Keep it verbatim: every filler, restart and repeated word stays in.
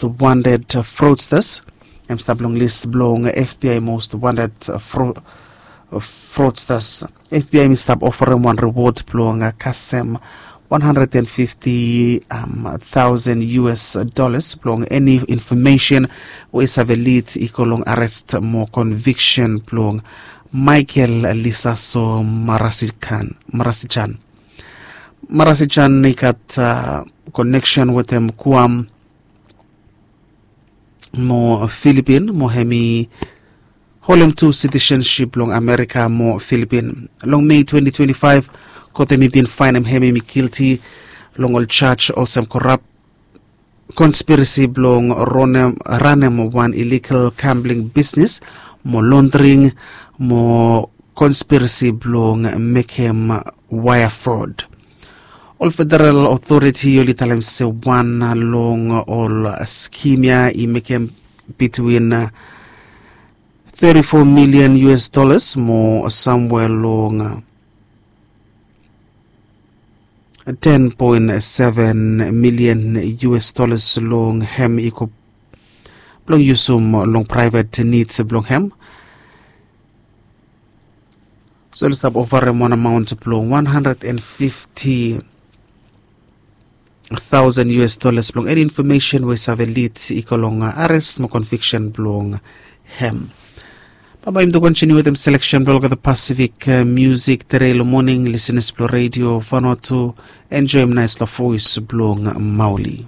wanted fraudsters. Em stap long list blong FBI most wanted fraudsters. FBI mi stap oferim wan reward blong kasem one hundred and fifty thousand U S dollars blong eni information we save lead i go long arrest mo conviction blong Michael Lisaso Marasichan. Marasichan i gat connection wetem Guam mo Filipin mo hem i holem tu citizenship long Amerika mo Filipin. Long Mei twenty twenty-five, kot hem i bin faenem hem i gilti long ol jaj olsem korap, konspirasi blong ranem wan illegal gambling bisnis mo laundering mo konspirasi blong mekem waea fraud. Ol federal otoriti oli talem se wan long ol skim ya i mekem bitwin thirty-four million U S dollars mo samwea long ten point seven million U S dollars long hem i go blong yusum long private needs blong hem. So oli stap oferim wan amount blong one hundred and fifty thousand U S dollars blong eni information we save lead i go long arrest mo conviction blong hem. Baba im to continue wetem selection blong olgeta Pacific music today long morning, listeners blong Radio Vanuatu, enjoy im nice long voice blong Mauli.